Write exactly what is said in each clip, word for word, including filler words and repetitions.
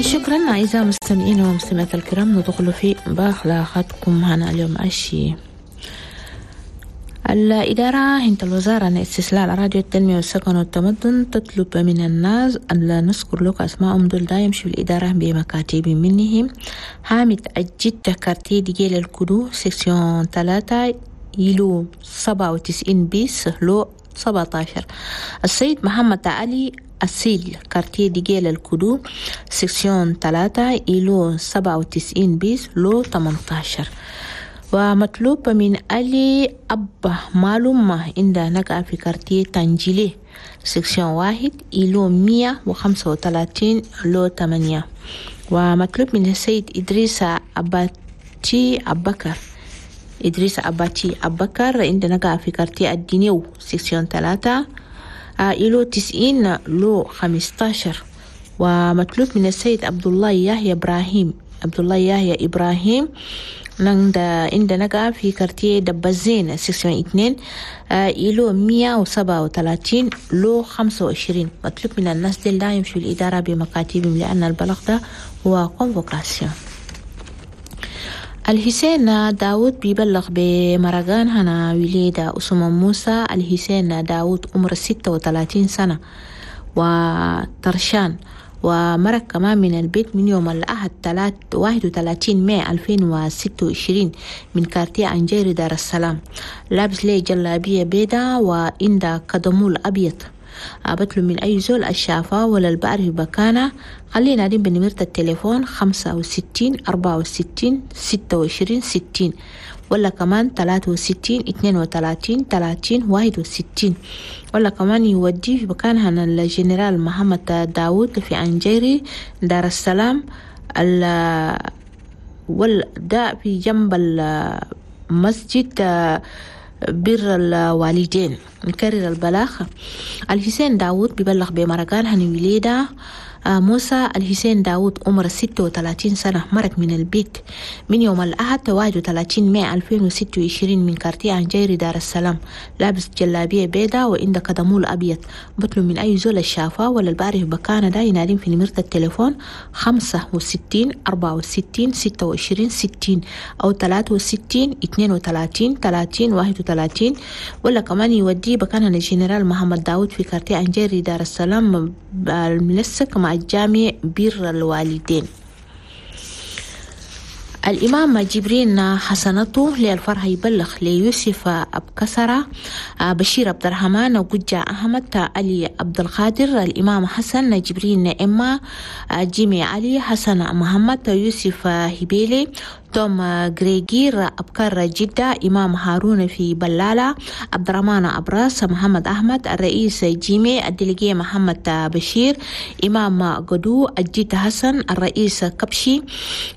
شكرا أعزائي المستمعين والمستمعات الكرام. ندخل في بلاغاتكم هنا اليوم أشي. الإدارة هنت الوزارة عن استصلاح الأراضي والتنمية والسكن والتمدن تطلب من الناس أن لا نذكر لك أسماءهم دول دا يمشوا الإدارة بمكاتب منهم. حامد أجد quartier ديجيل الكدو section ثلاثة îlot سبعة وتسعين bis lot سبعة عشر. السيد محمد علي أسيل، quartier ديجيل الكدو section ثلاثة îlot سبعة وتسعين bis lot ثمانية عشر. ومطلوب من علي أبا معلومة عند نقع في quartier تنجيلي section واحد îlot مية وخمسة وثلاثين lot ثمانية. ومطلوب من السيد إدريس أباتي أبكر، إدريس أباتي أبكر، عند نقع في quartier الدينيو section ثلاثة îlot تسعين lot خمستاشر. ومطلوب من السيد عبد الله يحيى إبراهيم، عبد الله يحيى إبراهيم، نعند عند نقع في quartier دبزين section اثنين îlot مية وسبعة وثلاثين lot خمسة وعشرين. مطلوب من الناس دي لا يمشوا الإدارة بمكاتبهم لأن البلاغ ده هو convocation. الحسين داود بيبلغ بمرقان هنا وليدة أسمة موسى. الحسين داود عمر ستة وثلاثين سنة وطرشان، ومرق كمان من البيت من يوم الأحد واحد وثلاثين ماي ألفين وستة وعشرين من quartier أنجيري دار السلام، لابس ليه جلابية بيضة وإندا كدمول أبيض. بطلب من أي زول الشافة ولا البعرف بكانة خلينا ينادي بنمرة التليفون خمسة وستين أربعة وستين ستة وعشرين ستين، ولا كمان تلاتة وستين اتنين وتلاتين تلاتين واحد وستين، ولا كمان يودي في مكان هنا الجنرال محمد داود في أنجيري دار السلام ال ده في جنب المسجد بر الوالدين. نكرر البلاغ: الحسين داود بيبلغ بمرقان هني وليدة موسى. الحسين داود عمر ستة وثلاثين سنة، مرق من البيت من يوم الأحد واحد وثلاثين ماي ألفين وستة وعشرين من quartier أنجيري دار السلام، لابس جلابية بيضاء وعند كدمول أبيض. بطلب من أي زول الشافة ولا البعرف بكانة ده ينادين في نمرة التليفون خمسة وستين أربعة وستين ستة وعشرين ستين أو تلاتة وستين اتنين وتلاتين تلاتين واحد وتلاتين، ولا كمان يودي بكان الجنرال محمد داود في quartier أنجيري دار السلام الملصق مع الجامع بر الوالدين. الإمام جبرين حسنته للفرح يبلغ ليوسف أبكسرة، بشير عبد الرحمن، وججة أحمد، علي عبد القادر، الإمام حسن جبرين، إما جيمي علي، حسن محمد، يوسف هبيلي، توم غريجير، أبكر جدة، إمام هارون في بلالة، عبد الرحمن أبراس، محمد أحمد، الرئيس جيمي، ال délégué محمد بشير، إمام قدو، الجد حسن، الرئيس كبشي،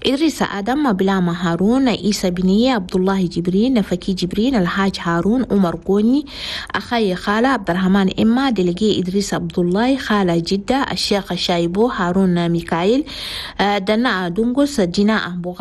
إدريس آدم، بلاما هارون، عيسى بنية، عبد الله جبرين، فكي جبرين، الحاج هارون، عمر قوني، أخي خالة عبد الرحمن إما، délégué إدريس عبد الله، خالة جدة، الشيخ شايبو، هارون ميكائيل، دنا دونغوس، جناء بوغاري.